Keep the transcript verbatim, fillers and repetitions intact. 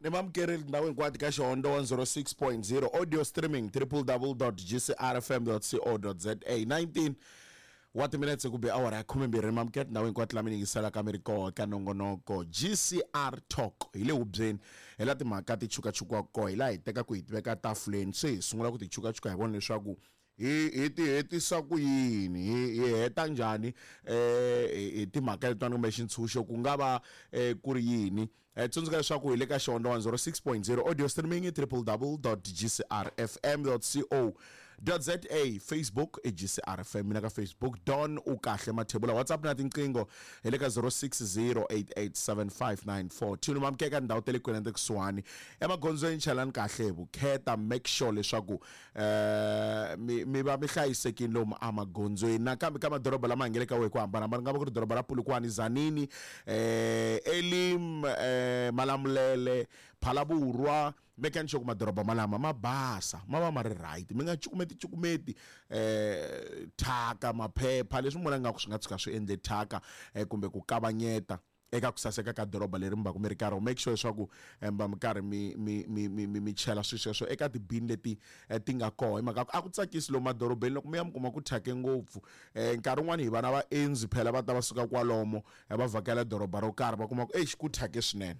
Ni mamukeri tindhawu hinkwato ka Xihondzo one zero six point zero audio streaming triple double dot gcrfm dot co dot za nineteen wa timinetse ku be awara ya khumembirhi. Ni mamukeri tindhawu hinkwato lama yingiselaka mi ri koho ka nongonoko G C R Talk. Hi le hubyeni hi la timhaka ti chukachukiwaka koho, hi laha hi tekaka hi ti veka tafuleni, se hi sungula ku ti chukachuka hi vona leswaku hi hi ti hetisa ku yini, hi hi heta njhani eh hi timhaka letiwani kumbe xintshunxo ku nga va ku ri yini. Tsundzuka leswaku hi le ka Xihondzo one zero six point zero audio streaming triple double dot gcrfm dot co dot za, Facebook i G C R F M, mina ka Facebook Don u kahle Mathebula, WhatsApp na tinqingho hi le ka zero six zero eight eight seven five nine four two. Mamukeka ndhawu ta le kule na le kusuhani emagondzweni, chalani kahle hi vukheta, make sure leswaku eh mi mi va mi hlayisekile lomu emagondzweni. Nakambe ka madoroba lama hi nga le ka wona hi ku hambanahambana, ku nga va ku ri doroba ra Polokwane, Zanini, eh Elim, eh Malamulele, Phalaborwa, mekani sure ku madoroba malama ma basa, ma va ma ri right, mi nga cukumeti cukumeti eh thyaka, maphepha leswi mi vona nga ku swi nga tshuka swi endle thyaka kumbe ku kavanyeta eka ku saseka ka doroba leri mi va ku mi ri karhi. Make sure leswaku mi va mi karhi mi mi mi mi mi mi chela swilo sweswo eka tibini leti ti nga koho, hi mhaka ku a ku tsakisi lomu madorobeni loko mi ya mi kuma ku thyake ngopfu. Nkarhi wun'wani hi vana vaendzi phela va ta va suka kwalomo va vhakela doroba ro karhi, va kuma ku exi ku thyake swinene.